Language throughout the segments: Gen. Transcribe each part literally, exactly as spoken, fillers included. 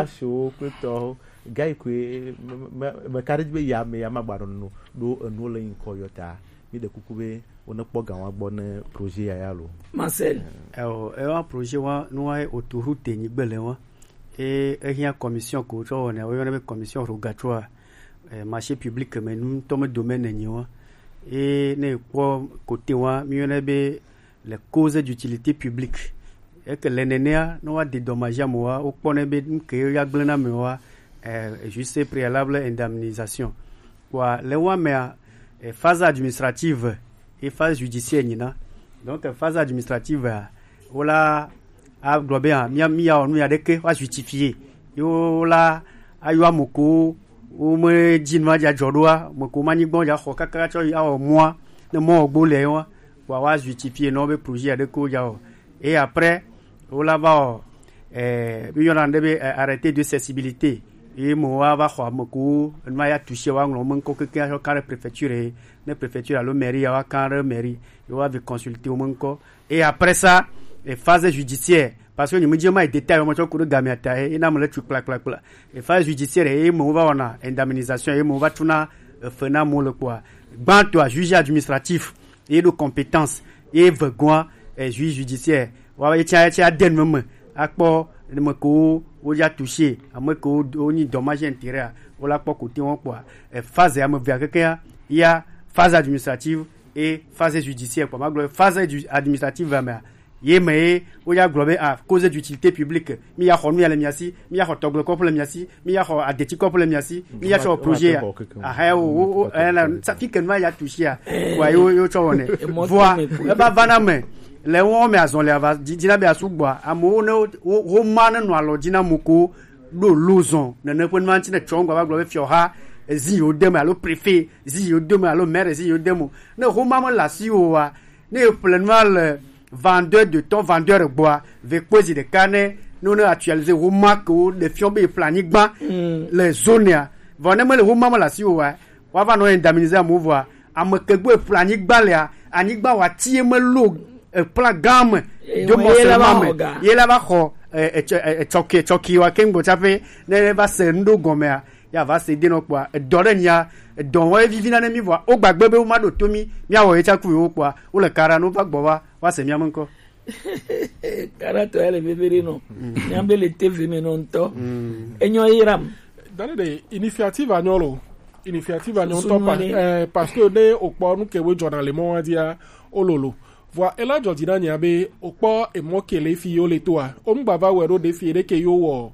Asiwo kple tɔwo, gayi koe me, me, me, meka ɖe edzi be ya me, ya magba nɔ nu ɖo enuwo le ŋkɔ yɔ ta. Mi ɖe kuku be wo ne kpɔ ga wa gbɔ ne projet ya ya lo. Marcel. Ewa projet wa nu wa autoroute nyigbe le wa. E, ehia commission ko tsɔ wɔna, wo yɔna be commission rogatoire. Eh, marché public me nu tɔ me domaine nyi wa. E ne kpɔ côté wa, mi yɔna be les causes d'utilité publique. Eke le nenea, ne woaɖe dɔmazia me wa, wokpɔnɛ be nu ke ya gblẽna me wa, eh, juste préalable indemnisation. Kpɔa, le wa mea, eh, phase administrative et phase judiciaire nyina. Donc, eh, phase administrative, eh, wola agblɔ be, ah, mía, mía wɔ nu ya ɖeke, wa justifier. Yo la ayɔ ame ko wo me dzi nua dza dzɔ ɖoa, ame ko ma nyigba dza xɔ kaka tsɔ yi awɔ mɔa, ne mɔ gbo le wa, wa, wa justifier nɔ be projet aɖe ko dza wɔ. Et après, wo la va wɔ, eh, mi yɔna ɖe be, eh, arrêté de cessibilité. Ye mo wa va xɔ ame ko, enu ma ya touché wa ŋlɔ me ŋkɔ keke atsɔ kan ɖe préfecture, ne préfecture alo mairie ya wa kan ɖe mairie, ye wa vi consulter wo me ŋkɔ. Et après ça, eh, phase judiciaire, parce que ni mi dzi ma détail mo tsɔ ku ɖe gamea ta, eh, na mo le tu kpla, kpla, kpla. Et phase judiciaire, eh, mo va wɔna indemnisation, eh, mo va tuna, eh, fe na mo le kpɔa. Gbãtɔa, juge administratif, ye ɖo compétence, ye vegoa, eh, juge judiciaire. Wa ye tsia, tsia den me me. Akpɔ, ne me ko, wo ya touché, ame ko, wo nyi dommage intérêt, wo la kpɔ côté wo kpɔa. Eh, phase ya me via keke ya, ya phase administrative et phase judiciaire kpɔa. Ma gblɔ phase ju-, administrative mea, ye me ye wo ya gblɔ be, ah, cause d'utilité publique, mi ya xɔ nu ya le mia si, mi ya xɔ tɔgble kɔƒe le mia si, mi ya xɔ adeti kɔƒe le mia si, mi ya xɔ projet ya. Aha, o, o, o, eh, la, sa fi ke nu ya touché ya. Wa yo, yo tsɔ wɔnɛ. Vɔa, e va va na me. Le wo me azɔn le ava, di, di na be asu gbɔa. Amewo ne wo, wo, wo ma ne nɔ alɔ dzi na mo ko ɖo lo zɔn. Nene ƒe nu ma ŋuti ne tsɔ ŋgɔ va gblɔ be fiɔha, ezi yo de me alo préfet, ezi yo de me alo maire, ezi yo de me. Ne ho ma me le asi o wa, ne eƒle nua le vendeur de temps, vendeur gbɔa, ve kpɔe zi ɖeka ne, ne wo ne actualiser wo ma ke wo ɖe fiɔ be eƒle anyigba le zonea. Vɔ ne mele wo ma me le asi o wa, wa va nɔ indemniser amewo vɔa, ame ke gbɔ eƒle anyigba lea, anyigba wa tie me lo eƒla gã me, do mɔ se ma me, ye la va xɔ, eh, eh, tsɔ-, eh, eh, tsɔki, tsɔki wa ke ŋgbɔ tsaƒe, ne va se ŋɖo gɔmea, ya va se de nɔ kpɔa, edɔ ɖe nya, edɔ wɔ evivi na ne mi vɔa, wo gbagbe be wo ma ɖo to mi, mia wɔ ye tsaku wo kpɔa, wo le kara no va gbɔ va, va se mia me ŋkɔ. Kara tɔ ya le veve ɖe nɔ. Mia be le T V me nɔ ŋutɔ. Enyɔ yi ram. Dani de initiative anyɔ lo. Initiative anyɔ ŋutɔ pa, eh, parce que ne o kpɔ nu ke wo dzɔna le mɔ wa dia, o lolo. Vɔa, ela dzɔ dzi na nya be, o kpɔ emɔ ke le fi yo le toa. O ŋgba va wɛ ɖo ɖe fi ɖe ke yo wɔ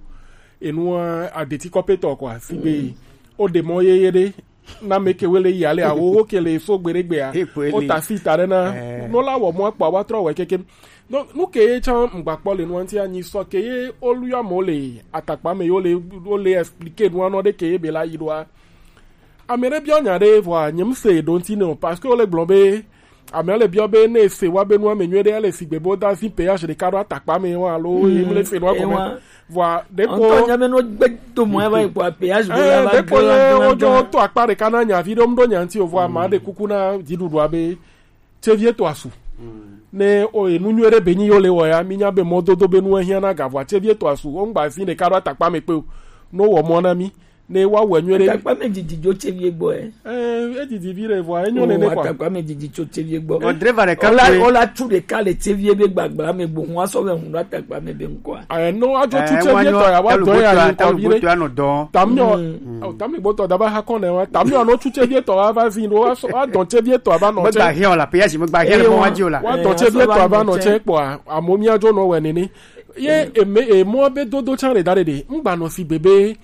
enua adeti kɔpetɔ kɔa. Si be, o ɖe mɔ yeye ɖe, na me ke wele yi ale awo wo ke le so gbe ɖe gbea. He ko ele. O ta si ta ɖe na. Eh. No la wɔ mɔ kpa wa trɔ wɛ keke. No, nu ke ye tsã ŋgba kpɔ le nua ŋuti anyi sɔ ke ye o lu ya mɔ le atakpa me yo le, o le expliquer nua nɔ ɖe ke ye be la yi ɖoa. Ame ɖe biɔ nya ɖe vɔa nye mse ɖo ŋuti ne o, parce que wo le gblɔ be ame le biɔ be ne se wa be nua me nyuie ɖe ele sigbe bo da si péage ɖeka ɖo atakpa me wa alo ye mle se nua gɔme. Vɔa ɖeko ŋutɔ nya be no gbe do mɔ eva yi kpɔ péage bo eh, la va ɖeko ye wo dzo to akpa ɖeka na nya vi ɖo mɖo nya ŋuti o vɔa ma ɖe kuku na dziɖuɖua be tsevi etɔ asu. Ne o enu nyuie ɖe be nyi yo le wɔ ya, mi nya be mɔdodo be nu ehiã na ga vɔa tsevi etɔ asu. O ŋgba fi ɖeka ɖo atakpa me kpe o. No wɔ mɔ na mi. Ne wa wɔ nyuie ɖe. Atakpa me didi dzo tsevi gbɔ ɛ. Eh, e didi vi ɖe vɔa enyo nene kɔa. Atakpa me didi tso tsevi gbɔ. Bon, driver ɖeka ola, ola tu ɖeka le tsevi be gbagbla me gbo hun asɔ be hun ɖo atakpa me be ŋkɔa. Eh, no adzo tu tsevi etɔ ya wa dɔ ya yi kɔ vi ɖe. Tamyɔ, tamyɔ gbɔtɔ daba ha kɔn ne wa. Tamyɔ no tu tsevi etɔ wa va vi ɖo wa dɔn tsevi etɔ va nɔ tse. Megba hiɛ o la, péage megba hiɛ le mɔ wa dzi o la. Wa dɔn tsevi etɔ va nɔ tse kpɔa, amo mia dzo nɔ wɛ nene. Ye eme emɔ be dodo tsa ɖe da ɖe ɖe. Ŋgba nɔ si bebe.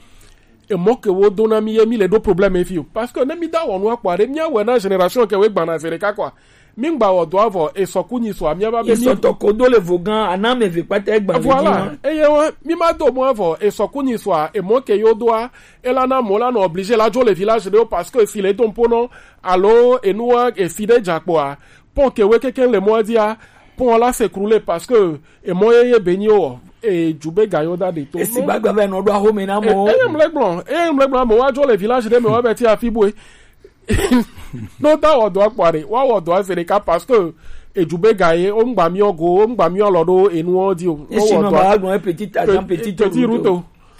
Emɔ ke wo do na mi ye mi le ɖo problème fi o. Parce que ne mi da wɔ nu akpɔ ɖe mia wɛ na génération ke we gbana fe ɖeka kɔa. Mi ŋgba wɔ dɔ avɔ esɔku nyi sɔa mia ba be mi. Esɔtɔ ko do le vo gan ana me ve kpata egba. Voilà. Eye wa mi ma do mɔ avɔ esɔku nyi sɔa emɔ ke yo doa ela na mɔ la nɔ obligé la dzo le village ɖe o parce que fi le do mpo nɔ alo enua efi ɖe dza kpɔa. Pɔn ke we keke le mɔ dia pɔn la se krule parce que emɔ ye ye be nyi o e ju be ga yo da de to. Esi gbagba be nɔ ɖo ahome na mɔ. Eye mle gblɔ eye mle gblɔ mɔ wa dzo le village ɖe me wa be ti afi boe. No da wɔ dɔ akpɔ ɖe wa wɔ dɔ afe ɖeka parce que eju be ga ye o ŋgba mi ogo o ŋgba mi ɔlɔ ɖo enu o di o. Esi nɔ ba gblɔ petit agent petit route.